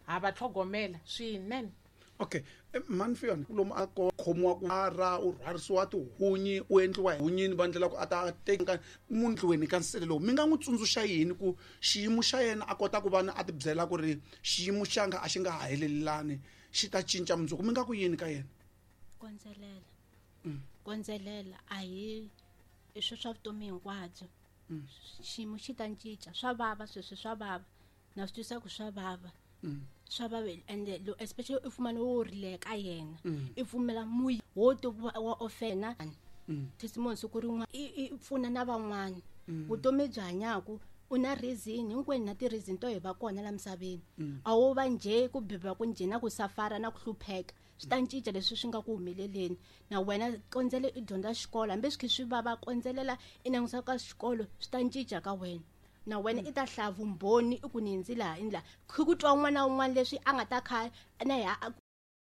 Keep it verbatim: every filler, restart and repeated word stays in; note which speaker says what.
Speaker 1: Ha va tlhogomela swinene.
Speaker 2: Okay, mhani Fiona, lomu a ko khomiwa ku ara u rhwarisiwa tihunyi, u endliwa hunyini, va ndlela ku a ta teka mundlweni ka nsele lowu, mi nga n'wi tsundzuxa yini ku xiyimo xa yena a kota ku va na a ti byela ku ri xiyimo xanga a xi nga ha helelani, xi ta cinca mundzuku? Mi nga ku yini ka yena?
Speaker 3: Kondzelela, kondzelela, a hi i swi swa vutomi hinkwabyo. Xiyimo xi ta cinca. Swa vava sweswi, swa vava, na swi twisisa ku swa vava, swa vava, ende lo especially i fumana wo rileka yena, i pfumela muyi wo ti wa ofena testimony siku rin'wana i i pfuna na van'wana. Vutomi byi hanyaku u na reason, hinkwenu na ti-reason to hi va kona la misaveni. A wo va njhe ku biba ku njhe na ku safara na ku hlupheka, swi ta cinca leswi swi nga ku humeleleni. Na wena kondzele i dyondza xikolo, hambi swi kha swi vava, kondzelela i langusa ka xikolo, swi ta cinca ka wena. Na wena i ta hlaya vumbhoni i ku ni hindzi laha i laha, khi ku twa un'wana na un'wana leswi a nga ta kha na ya.